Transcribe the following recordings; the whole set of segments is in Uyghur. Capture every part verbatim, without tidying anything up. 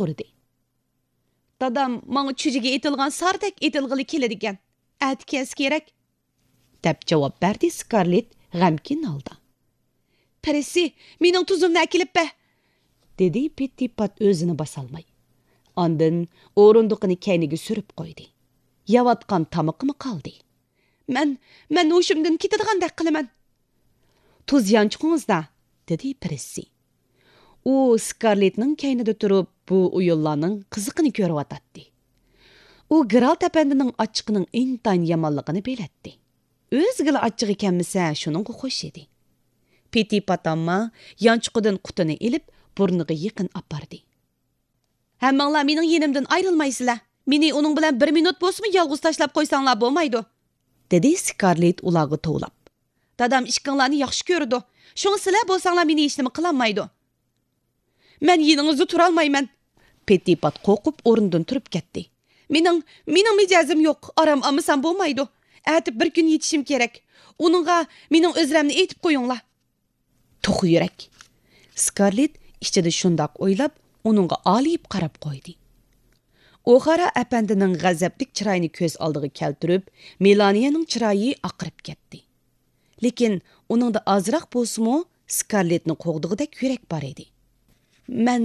سورىدى. دادام ماڭا چۈجىگە ئېتىلغان ساردەك ئېتىلغىلى كېلىدىكەن. ئەتە كەلسە كېرەك. دەپ جاۋاب بەردى سكارلېت غەمكىن ھالدا. پىرىسسى، مېنىڭ تۇزۇمنى ئەكېلىپ بەر! دېدى پېتتىپات ئۆزىنى باسالماي. ئاندىن ئورۇندۇقىنى كەينىگە سۈرۈپ قويدى. يەۋاتقان تامىقىمۇ قالدى. مەن، مەن ھوشۇمدىن كېتىدىغاندەك قىلىمەن. تۇز يانچۇقىڭىزدا، دېدى پىرىسسى. ئۇ سكارلېتنىڭ كەينىدە تۇرۇپ، بۇ ئويۇنلارنىڭ قىزىقىنى كۆرۈۋاتاتتى. ئۇ گېرالت ئەپەندىنىڭ ئاچچىقىنىڭ ئىنتايىن يامانلىقىنى بىلەتتى. ئۆزىگىلا ئاچچىقى كەلمىسە، شۇنىڭغا خوش ئىدى. پېتىپات ئامما يانچۇقىدىن قۇتىنى ئېلىپ، بۇرنىغا يېقىن ئاپاردى. ھەممىڭلار مېنىڭ يېنىمدىن ئايرىلمايسىلەر. مېنى ئۇنىڭ بىلەن بىر مىنۇت بولسىمۇ يالغۇز تاشلاپ قويساڭلار بولمايدۇ، دېدى سكارلېت ئۇلارغا توۋلاپ. دادام ئىككىڭلارنى ياخشى كۆرىدۇ. شۇڭا سىلەر بولساڭلار مېنى ھېچنېمە قىلالمايدۇ. مەن يېنىڭىزدا تۇرالمايمەن. پېتىپات قورقۇپ ئورنىدىن تۇرۇپ كەتتى. مېنىڭ، مېنىڭ مىجەزىم يوق، ئارام ئالمىسام بولمايدۇ. ئەتە بىر كۈن يېتىشىم كېرەك. ئۇنىڭغا مېنىڭ ئۆزرەمنى ئېيتىپ قويۇڭلار. توخۇ يۈرەك. سكارلېت ئىچىدە شۇنداق ئويلاپ، ئۇنىڭغا ئالىيىپ قاراپ قويدى. ئوخارا ئەپەندىنىڭ غەزەپلىك چىرايىنى كۆز ئالدىغا كەلتۈرۈپ، مېلانىيەنىڭ چىرايى ئاقىرىپ كەتتى. لېكىن ئۇنىڭدا ئازراق بولسىمۇ سكارلېتنى قوغدىغۇدەك يۈرەك بار ئىدى. مەن،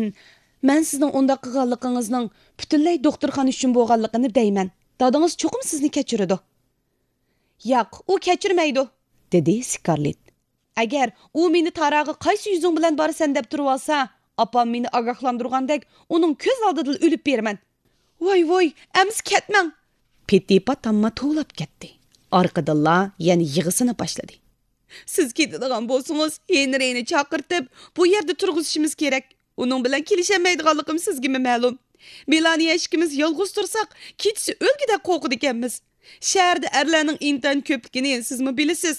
مەن سىزنىڭ ئۇنداق قىلغانلىقىڭىزنىڭ پۈتۈنلەي دوختۇرخانا ئۈچۈن بولغانلىقىنى دەيمەن. دادىڭىز چوقۇم سىزنى كەچۈرىدۇ. ياق، ئۇ كەچۈرمەيدۇ، دېدى سكارلېت. ئەگەر ئۇ مېنى تاراغا قايسى يۈزۈڭ بىلەن بارىسەن دەپ تۇرۇۋالسا، ئاپام مېنى ئاگاھلاندۇرغاندەك ئۇنىڭ كۆز ئالدىدىلا ئۆلۈپ بېرىمەن. ۋاي، ۋاي، ئەمىسە كەتمەڭ! پېتىپات ئامما توۋلاپ كەتتى. ئارقىدىنلا يەنە يىغىسىنى باشلىدى. سىز كېتىدىغان بولسىڭىز، ھېنرىنى چاقىرتىپ، بۇ يەردە تۇرغۇزۇشىمىز كېرەك. ئۇنىڭ بىلەن كېلىشەلمەيدىغانلىقىم سىزگىمۇ مەلۇم. مېلانىيە ئىككىمىز يالغۇز تۇرساق، كېچىسى ئۆلگۈدەك قورقىدىكەنمىز. شەھەردە ئەرلەرنىڭ ئىنتايىن كۆپلۈكىنى سىزمۇ بىلىسىز.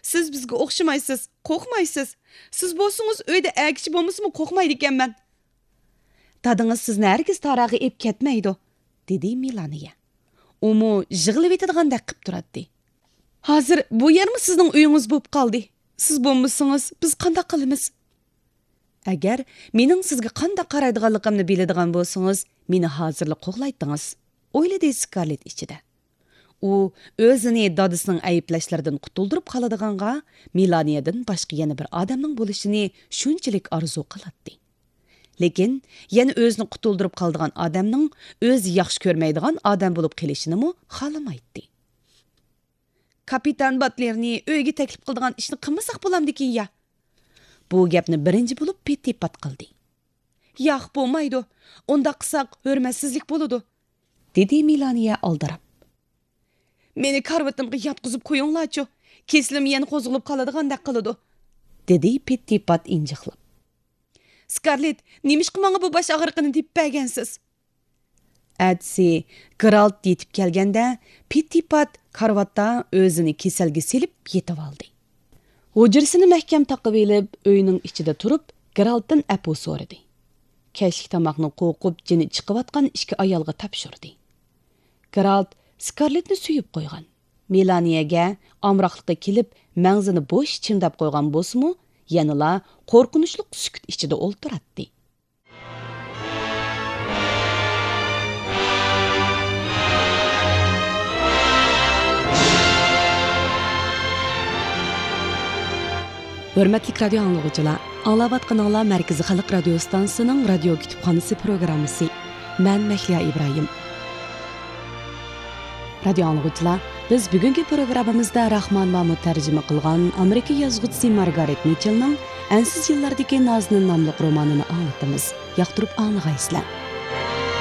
سىز بىزگە ئوخشىمايسىز، قورقمايسىز. سىز بولسىڭىز ئۆيدە ئەركىچى بولمىسىمۇ قورقمايدىكەنمەن. دادىڭىز سىزنى ھەرگىز تاراغا ئېلىپ كەتمەيدۇ، دېدى مېلانىيە. ئۇمۇ يىغلىۋېتىدىغاندەك قىپ تۇراتتى. ھازىر بۇ يەرمۇ سىزنىڭ ئۆيىڭىز بولۇپ قالدى. سىز بولمىسىڭىز، بىز قانداق قىلىمىز؟ ئەگەر مېنىڭ سىزگە قانداق قارايدىغانلىقىمنى بىلىدىغان بولسىڭىز، مېنى ھازىرلا قوغلايتتىڭىز، ئويلىدى سكارلېت ئىچىدە. ئۇ ئۆزىنى دادىسىنىڭ ئەيىبلەشلىرىدىن قۇتۇلدۇرۇپ قالىدىغانغا مېلانىيەدىن باشقا يەنە بىر ئادەمنىڭ بولۇشىنى شۇنچىلىك ئارزۇ قىلاتتى. لېكىن يەنە ئۆزىنى قۇتۇلدۇرۇپ قالىدىغان ئادەمنىڭ ئۆزى ياخشى كۆرمەيدىغان ئادەم بولۇپ قېلىشىنىمۇ خالىمايتتى. كاپىتان باتلېرنى ئۆيگە تەكلىپ قىلىدىغان ئىشنى قىلمىساق بولامدىكىن يا؟ بۇ گەپنى بىرىنچى بولۇپ پېتىپات قىلدى. ياق، بولمايدۇ. ئۇنداق قىلساق ھۆرمەتسىزلىك بولىدۇ، دېدى مېلانىيە ئالدىراپ. مېنى كارىۋىتىمغا ياتقۇزۇپ قويۇڭلارچۇ، كېسىلىم يەنە قوزغىلىپ قالىدىغاندەك قىلىدۇ، دېدى پېتتىپات ئىنجىقلاپ. سكارلېت، نېمىشقا ماڭا بۇ باش ئاغرىقىنى تېپىپ بەرگەنسىز؟ ئەتىسى گېرالت يېتىپ كەلگەندە، پېتتىپات كارىۋاتتا ئۆزىنى كېسەلگە سېلىپ يېتىۋالدى. ھۇجرىسىنى مەھكەم تاقىۋېلىپ، ئۆينىڭ ئىچىدە تۇرۇپ، گېرالتتىن ئەپۇ سورىدى. كەچلىك تاماقنى قورقۇپ جېنى چىقىۋاتقان ئىككى ئايالغا تاپشۇردى. گېرالت سكارلېتنى سۆيۈپ قويغان. مېلانىيەگە ئامراقلىقى كېلىپ، مەڭزىنى بوش چىمداپ قويغان بولسىمۇ، يەنىلا قورقۇنچلۇق سۈكۈت ئىچىدە ئولتۇراتتى. ھۆرمەتلىك رادىيو ئاڭلىغۇچىلار، ئاڭلاۋاتقىنىڭلار مەركىزىي خەلق رادىيو ئىستانسىسىنىڭ رادىيو كۇتۇپخانىسى پروگراممىسى. مەن مەھلىيا ئىبراھىم. رادىيو ئاڭلىغۇچىلار، بىز بۈگۈنكى پروگراممىمىزدا راخمان مامۇت تەرجىمە قىلغان ئامېرىكا يازغۇچىسى مارگارېت مىچېلنىڭ ئەنسىز يىللاردىكى نازنىن ناملىق رومانىنى ئاڭلىتىمىز. ياقتۇرۇپ ئاڭلىغايسىلەر.